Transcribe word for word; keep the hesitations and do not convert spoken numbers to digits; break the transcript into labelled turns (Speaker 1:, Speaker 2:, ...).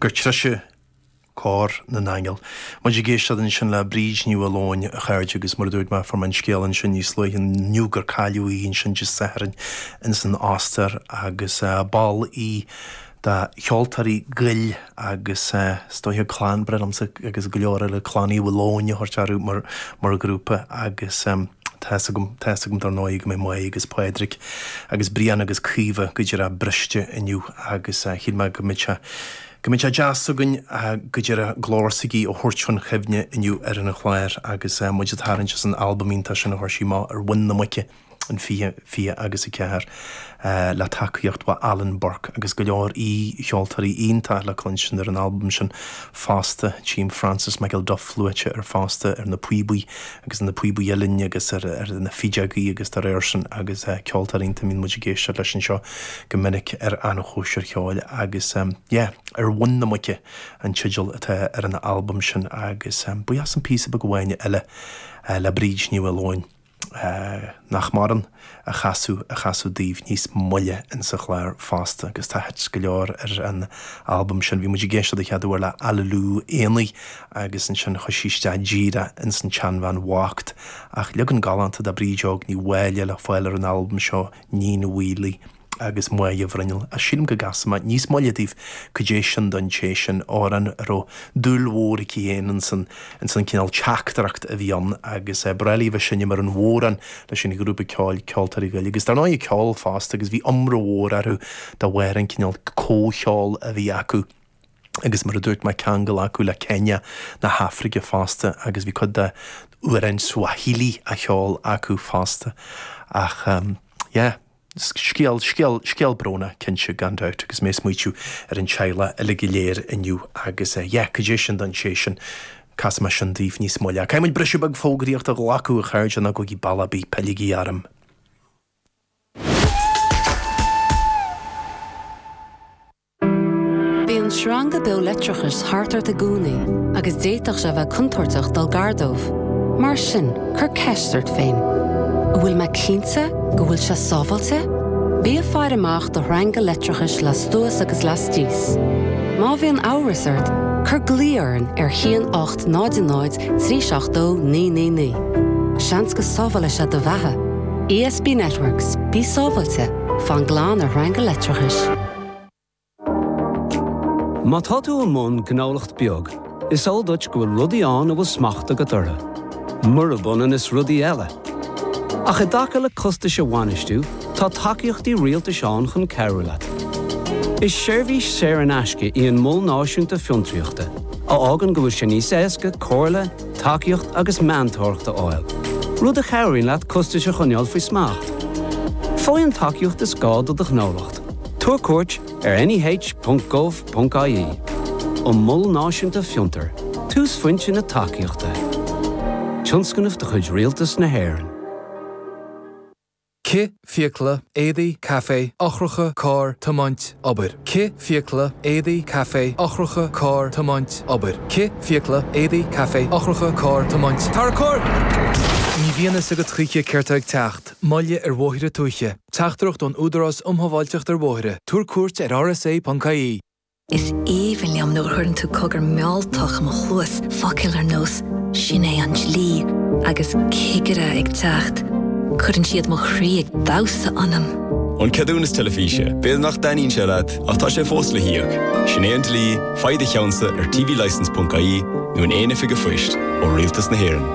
Speaker 1: Gur treise cór na n-aingeal. Muid ag éisteacht ansin le Bríd Ní Mhaoileoin, a chairde, agus mar a dúirt mé, fuair mé an scéal ansin níos luaithe inniu gur cailleadh í ansin Dé Sathairn ins an Ostair agus ball í de Cheoltóirí Ghoill agus is dóiche clann breá liomsa agus go leor eile Clann Uí Mhaoileoin a thabhairt orthu mar mar ghrúpa agus tá fhios agam tá fhios agam dar ndóigh go mbeidh Máire agus Pádraig agus Brian agus Caoimhe go díreach briste inniu agus shíl mé go mbeadh sé go mbeadh sé deas againn go díreach glór s'aici a thabhairt chun cuimhne inniu ar an chlár agus muid ag tarraingt as an albam iontach sin a chuir sí amach ar mhuin na muice in fiche fiche agus a ceathair le tacaíocht ó Alan Burke agus go leor aoi-cheoltóirí iontach le cluinstin ar an albam sin fosta. Tchím Francis McElduff luaite air fosta ar na píobaí agus na píobaí uilleann agus ar ar na fideogaí agus dá réir sin agus ceoltóirí iontach a mbíonn muid ag éisteacht leis anseo go minic ar an chóisir cheoil agus yeah ar mhuin na muice an teideal atá ar an albam sin agus buíochas an píosa beag amháin eile le Bríd Ní Mhaoileoin nach maireann a chasadh a chasadh daoibh níos moille insa chlár fosta agus tá hits go leor ar an albam sin. Bhí muid ag éisteacht a chéad uair le Aililiú Aonaigh agus ansin chuaigh sí isteach díreach ins an tSeanbhean Bhocht ach leagan galánta de Bríd Óg Ní Mháille le fáil ar an albam seo, Níon Mhaolaí. agus Máire Bhruinneall. Ach sílim go gcasfaidh mé níos moille daoibh cad é sin don té sin, amhrán a raibh dúil mhór aici féin ins an ins an cineál teachtaireacht a bhí ann agus ba bhreá léi a bheith ag seinm ar an bhodhrán leis an ghrúpa ceoil Ceoltóirí Ghoill agus dar ndóigh ceol fosta agus bhí iomrá mhór orthu de bharr an cineál comhcheol a bhí acu agus mar a dúirt mé ceangal acu le Kenya na hAfraice fosta agus bhí cuid de amhráin Swahili á cheol acu fosta ach yeah. Scéal, scéal, scéal brónach, cinnte, gan dabht, agus mé ag smaoitiú ar an teaghlach uilig go léir inniu agus yeah, cad é sin don té sin, casfaidh mé sin daoibh níos moille. Caithfidh muid briseadh beag fógraíochta a ghlacadh, a chairde, ná gabhaigí bealach ar bith, pilligí orm.
Speaker 2: Bíonn sreanga beo leictreachais thart ort i gcónaí agus d'fhéadfadh sé a bheith contúirteach dul gar dóibh. Mar sin, cuir ceist ort féin, An bhfuil mé cinnte go bhfuil sé sábháilte? Bí ag faire amach do shreanga leictreachais lastuas agus lastíos. Má bhíonn amhras ort, cuir glao orainn ar haon ocht náid náid trí seacht dó naoi naoi naoi. Seans go sábhálfaidh sé do bheatha. ESB Networks, bí sábháilte, fan glan ar shreanga leictreachais.
Speaker 3: Má tá tú i mbun gnólacht beag, is eol duit go bhfuil rudaí ann a bhfuil smacht agat orthu. Murab ionann is rudaí eile. Ach i dtaca le costais a bhainistiú, tá tacaíochtaí rialtais ann chun cabhrú leat. Is seirbhís saor in aisce í an Mol Náisiúnta Fiontraíochta, a fhágann go bhfuil sé níos éasca comhairle, tacaíocht agus meantóireacht a fháil, rud a chabhraíonn leat costais a choinneáil faoi smacht. Faigh an tacaíocht is gá do do ghnólacht. Tabhair cuairt ar neh ponc gov ponc ie. An Mol Náisiúnta Fiontar, túsphointe na tacaíochta. Tionscnamh de chuid Rialtas na hÉireann.
Speaker 4: Cith, fiacla, éadaí, caife, eochracha, carr, tiomáint, obair. Cith, fiacla, éadaí, caife, eochracha, carr, tiomáint, obair. Cith, fiacla, éadaí, caife, eochracha, carr, tiomáint, Tarracóir! Ní bhíonn fhios agat choíche céard tá ag teacht. Moilligh ar bhóithre tuaithe. Teachtaireacht ón Údarás um Shábháilteacht ar Bhóithre. Tabhair cuairt ar rsa.ie.
Speaker 5: Is aoibhinn liom nuair a chuireann tú cogar mealltach i mo chluas, focail ar nós 'Sin é an dlí' agus 'Cigire ag teacht'. Cuireann siad mo chroí ag damhsa ionam.
Speaker 6: An ceadúnas teilifíse, b'fhéidir nach dtaitníonn sé leat, ach tá sé fós le híoc. Sin é an dlí, faigh do cheannsa ar tvlicence.ie nó in aon oifig an phoist ó Rialtas na hÉireann.